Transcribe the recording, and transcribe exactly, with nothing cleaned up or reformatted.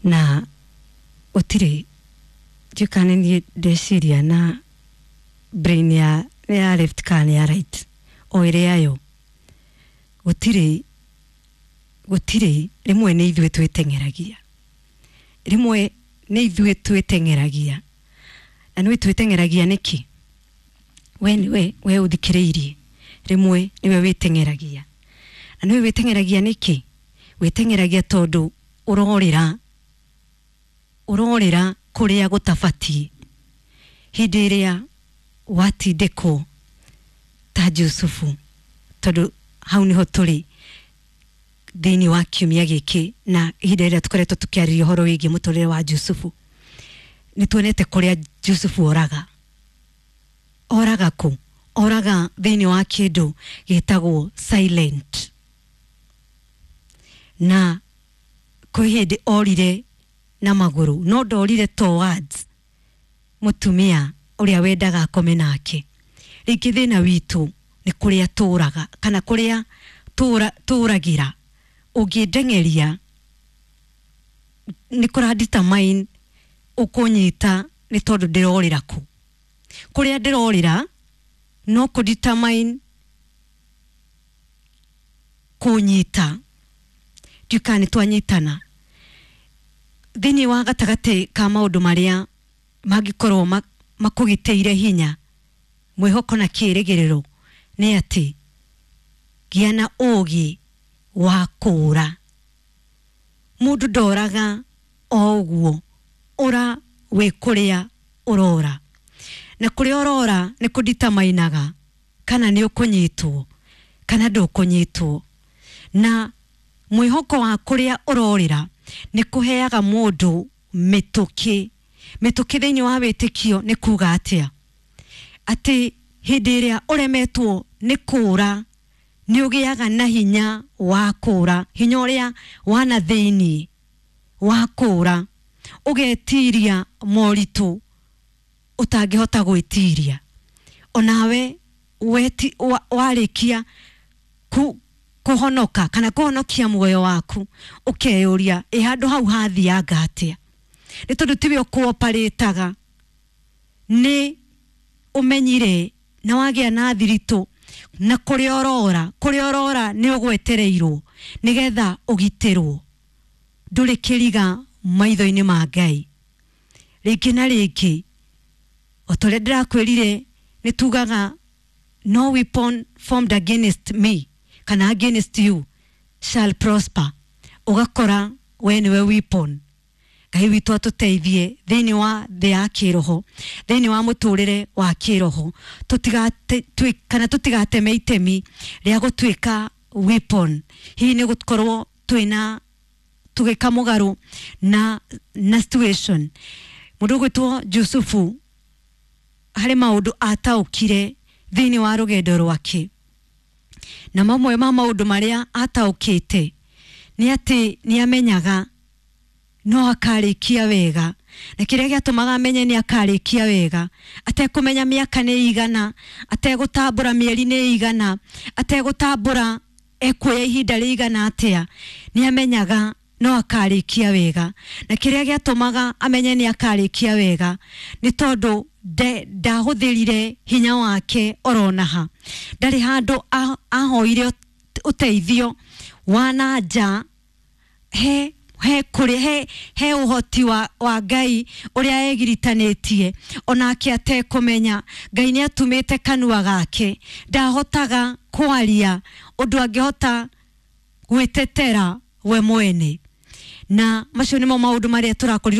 Na gũtirĩ njũkane niĩ ndeciria na brain ya nĩ ya left kana nĩ ya right o ĩrĩa yo gũtirĩ gũtirĩ rĩmwe nĩ ithuĩ twĩteng'eragia, rĩmwe nĩ ithuĩ twĩteng'eragia. Na nĩ twĩteng'eragia nĩkĩ? We nĩwe we ũthikĩrĩirie, rĩmwe nĩwe wĩteng'eragia. Na nĩwe wĩteng'eragia nĩkĩ? Wĩteng'eragia tondũ ũrorĩra ũrorĩra kũrĩa gũtabatiĩ. Hĩndĩ ĩrĩa watindĩkwo ta Jusufu, tondũ hau nĩho tũrĩ thĩinĩ wa kiumia gĩkĩ na ihinda rĩrĩa tũkoretwo tũkĩarĩria ũhoro wĩgiĩ mũtũrĩre wa Jusufu, nĩ tuonete kũrĩa Jusufu oraga. Oraga kũ? Oraga thĩinĩ wa kĩndũ gĩtagwo silent. Na kwĩ hĩndĩ orire na magũrũ, no ndorire towards mũtumia ũrĩa wendaga akome nake. Rĩngĩ thĩna witũ nĩ kũrĩa tũraga kana kũrĩa tũra tũragĩra. Ũngĩndeng'eria nĩ kũra determine ũkũnyita nĩ tondũ ndĩrorĩra kũ. Kũrĩa ndĩrorĩra no kũ determine kũnyita. Ndiũĩ kana nĩ twanyitana. Thĩinĩ wa gatagatĩ ka maũndũ marĩa mangĩkorwo makũgitĩire hinya, mwĩhoko na kĩĩrĩgĩrĩro nĩ atĩ gĩa na ũũgĩ wa kũũra. Mũndũ ndoraga o ũguo, ũra wĩ kũrĩa ũrora. Na kũrĩa ũrora nĩ kũditamainaga kana nĩ ũkũnyitwo kana ndũkũnyitwo. Na mwĩhoko wa kũrĩa ũrorĩra nĩ kũheaga mũndũ mĩtũkĩ. Mĩtũkĩ thĩinĩ wa wĩtĩkio nĩ kuga atĩa? Atĩ hĩndĩ ĩrĩa ũremetwo nĩ kũũra, nĩ ũgĩaga na hinya wa kũũra, hinya ũrĩa wa na thĩinĩ wa kũũra, ũgetiria moritũ ũtangĩhota gwĩtiria. Onawe weti, wa, warĩkia ku, kũhonoka kana kũhonokia muoyo waku, ũkeyũria ĩ handũ hau hathianga atĩa? Nĩ tondũ tiwe ũkũoparĩtaga, nĩ ũmenyire na wagĩa na thiritũ na kũrĩa ũrora, kũrĩa ũrora nĩ ũgwetereirwo nĩgetha ũgitĩrwo. Ndũrĩ kĩriga maitho-inĩ ma Ngai. Rĩngĩ na rĩngĩ o ta ũrĩa ndĩrakwĩrire, nĩ tugaga no weapon formed against me kana against you shall prosper. Ũgakora we nĩwe weapon. Ngai witũ atũteithie thĩinĩ wa thĩ ya kĩroho, thĩinĩ wa mũtũrĩre wa kĩroho, tũtigate kana tũtigateme itemi rĩa gũtuĩka weapon. Hihi nĩ gũkorwo twĩna tũgĩka mũgarũ na na situation. Mũndũ ũgwĩtwo Jusufu harĩ maũndũ ataũkire thĩinĩ wa rũgendo rwake, na mamwe ma maũndũ marĩa ataũkĩte nĩ atĩ nĩ amenyaga no akarĩkia wega, na kĩrĩa gĩatũmaga amenye nĩ akarĩkia wega, atekũmenya mĩaka nĩ igana, ategũtambũra mĩeri nĩ igana, ategũtambũra ekuoya ihinda rĩigana atĩa, nĩ amenyaga no akarĩkia wega. Na kĩrĩa gĩatũmaga amenye nĩ akarĩkia wega nĩ tondũ ndahũthĩrire hinya wake oronaha. Ndarĩ handũ ahoire ũteithio wa na nja he he kũrĩ he he ũhoti wa, wa Ngai ũrĩa egiritanĩtie onake atekũmenya. Ngai nĩ atumĩte kanua gake, ndahotaga kwaria ũndũ angĩhota gwĩtetera we mwene. Na macio nĩmo maũndũ marĩa tũrakorirwo